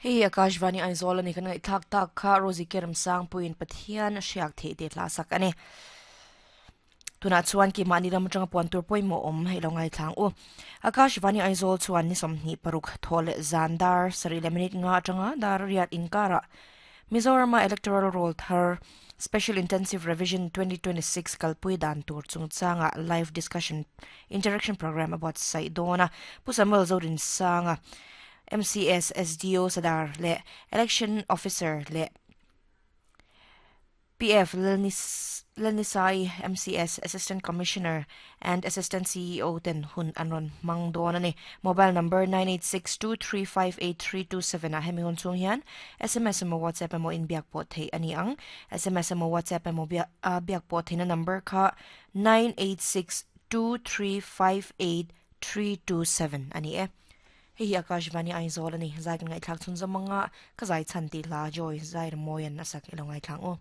Hei hi Akashvani Aizawl a ni kan ngaihthlak tak kha Rosie Kerem Sangpuiin Pathian a hriak theih tih hla sak a ni. Tunah chuan keimahni ram atanga puan tur pawimawh awm hei lo ngaithlang u. Akashvani Aizawl chuan ni 26 thaw leh zan dar sarih leh minute nga atanga dar riat inkarah Mizorama Electoral Roll thar Special Intensive Revision 2026 kalpui dan tur chungchanga live discussion interaction program a buatsaih dawn a. Pu Samuel Zodinsanga, MCS SDO Sadar leh Election Officer leh PF Lalnisai, MCS Assistant Commissioner and Assistant CEO ten hun an rawn hmang dawn a ni. Mobile number 9862358327 ah hemi hun chhung hian sms emaw WhatsApp emaw inbiak pawh theih a ni ang. Sms emaw WhatsApp emaw biak pawh theihna number kha 9862358327 a ni e. Hei hi Akashvani Aizawl a ni. Zai kan ngaihthlak chhunzawm anga ka zai chhan tih hla Joy Zairmawian a sak i lo ngaithlang u.